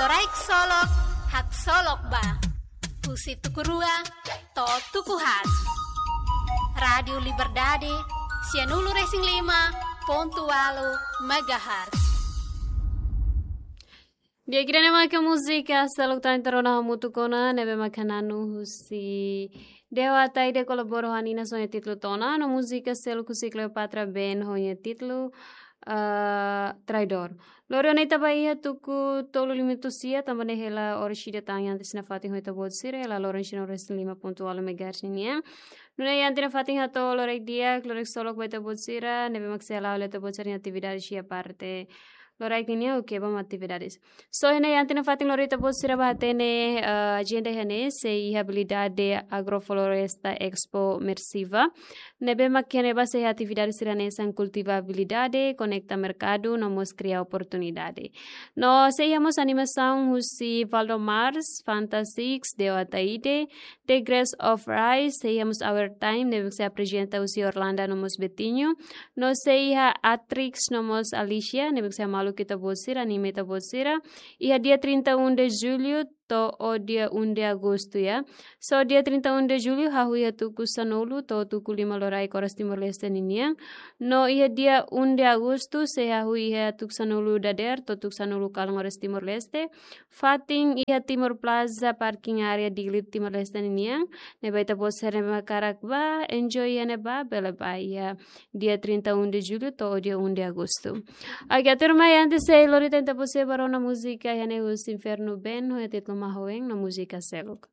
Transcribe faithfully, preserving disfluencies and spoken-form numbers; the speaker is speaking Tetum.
Loraik Solok, haksolok ba. Husi tuku rua to'o tuku haat. Rádiu Liberdade, sianulu-resin-lima pontu ualu megahertz. Di'ak, ida-ne'e maka múzika seluk tan terona hamutuk ona, ne'ebé maka na'an husi Deo Ataide kolabora ho Anina ho nia títulu Tona, no múzika seluk husi Cleopatra Band ho nia títulu, ah, Traidor. Lori ona ita ba iha tuku tolu lima minutu sia, tanba ne'e hela oras ida tan iha ita-nia fatin ho ita-boot sira, hela loron sianulu-resin-lima pontu ualu megahertz nian. Nune'e iha ita-nia fatin hato'o loraik di'ak, loraik solok ba ita-boot sira, ne'ebé mak sei hala'o hela ita-boot sira-nia atividade iha parte loraik nian, oke, ba atividades. So, iha ne'e iha ita-nia fatin lori ita-boot sira ba hatene, eh, ajenda iha ne'e, sei iha atividade Agrofloresta Expo Mersiva. Ne'ebé mak iha ne'ebá sei iha atividade sira hanesan kultivabilidade, konekta merkadu, no mós kria oportunidade. No sei iha mós animasaun husi Valdo Mars, Fanta Six, Deo Ataide, The Grace of Rice, sei iha mós Our Time, ne'ebé sei aprezenta husi Orlando no mós Betinho. No sei iha Atrix no mós Alicia, ne'ebé sei maluk ita-boot sira, anima ita-boot sira. Iha dia trinta e um de julho, to'o dia um de agosto, ya. So, dia trinta e um de julho, hahú iha tuku sanulu, to'o tuku lima loraik oras Timor-Leste ninian. No iha dia um de agosto, sei hahú iha tuku sanulu dadeer, to'o tuku sanulu kalan oras Timor-Leste. Fatin iha Timor Plaza, parking area Dili Timor-Leste ninian. Ne'ebé ita-boot sira ne'ebé hakarak ba, enjoy iha ne'ebá, bele ba iha dia trinta e um de julho, to'o dia um de agosto. Oke, tuirmai antes sei lori ita-boot sira ba rona múzika iha ne'e husi Inferno Band, ho títulu Mahoeng, no múzika seluk.